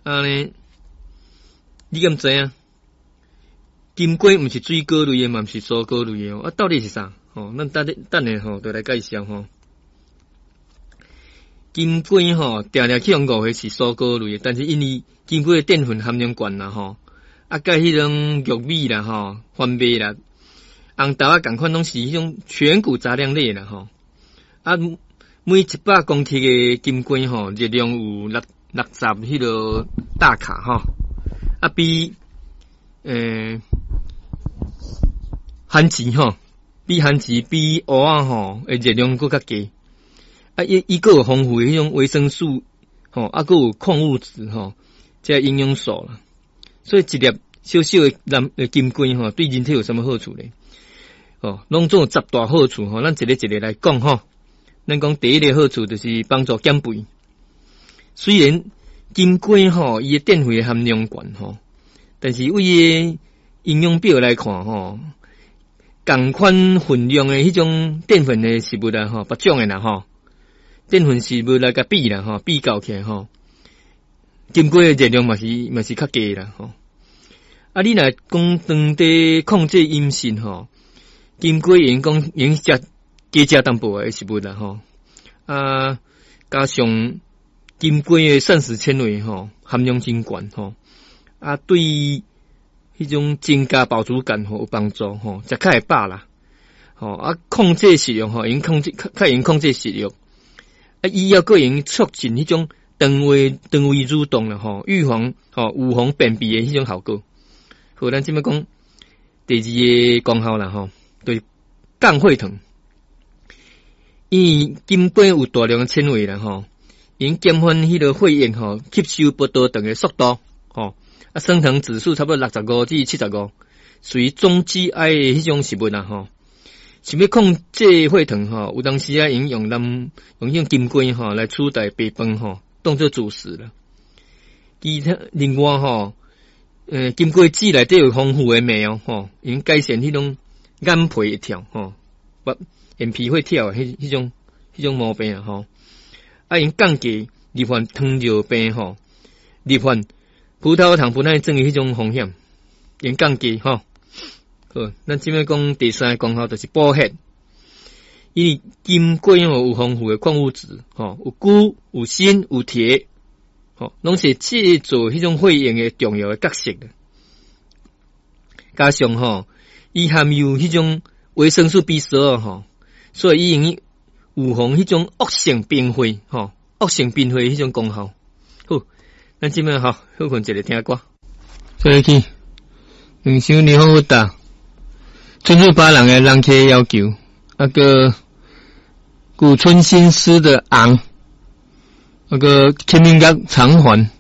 按呢，你敢知影？金瓜毋是水果類的，嘛毋是蔬果類的哦。啊，到底是啥？吼，咱等等下吼，就來介紹吼。金瓜吼，定定去予誤會是蔬果類的，但是因為金瓜的澱粉含量懸啦吼，啊，佮彼種玉米啦吼、番麥啦、紅豆仔仝款，攏是彼種全穀雜糧類啦吼。啊，每100公克的金瓜吼，熱量有六十彼個大卡吼，啊，比番薯吼，比番薯比芋仔吼的熱量閣較低。啊，伊閣有豐富的彼種維生素吼，啊，閣有礦物質吼，這營養素啦。所以一粒小小的藍的金瓜吼，對人體有啥物好處咧？哦，攏總有十大好處吼，咱一个一个來講吼。咱講第一个好處就是幫助減肥。雖然金瓜吼，伊的澱粉的含量懸吼，但是對伊的營養表來看吼，仝款份量的彼種澱粉的食物啦吼，別種的啦吼，澱粉食物來共比啦吼，比較起來吼，金瓜的熱量嘛是較低啦吼。啊，你若講當地控制飲食吼，金瓜會用講會食加食淡薄的食物啦吼。啊，加上金瓜的膳食纖維吼，含量真懸吼，啊，對彼種增加飽足感吼有幫助吼，食較會飽啦。吼啊，控制食欲吼，會控制較會用控制食欲。啊，伊猶閣會用促進彼種腸胃蠕動啦吼，預防吼預防便秘的彼種效果。好，咱這擺講第二个功效啦吼，就是降血糖。因為金瓜有大量的纖維啦吼，會減緩彼个血液吼吸收葡萄糖的速度吼，啊，升糖指數差不多65至75，屬於中 GI 的彼種食物啦吼。想欲控制血糖吼，有當時啊，會用咱用彼種金瓜吼來取代白飯吼，當做主食啦。其他另外吼，金瓜籽內底有豐富的鎂哦，吼，會用改善彼種眼皮會跳吼，眼皮會跳彼種毛病啊吼，啊，會用降低罹患糖尿病吼，罹患葡萄糖不耐症的彼種風險，會用降低吼。好，咱這擺講第三个功效就是補血，因為金瓜吼有豐富的礦物質吼，有鈷、有鋅、有鐵，吼，攏是製造彼種血液的重要的角色。加上吼，伊含有彼種維生素 B12吼，所以伊會用預防彼種惡性貧血吼，惡性貧血彼種功效。好，咱這擺吼，歇睏一下聽歌。所以去兩首你好打，春日巴人的人客要求，那个古村新司的尪，那个清明節償還。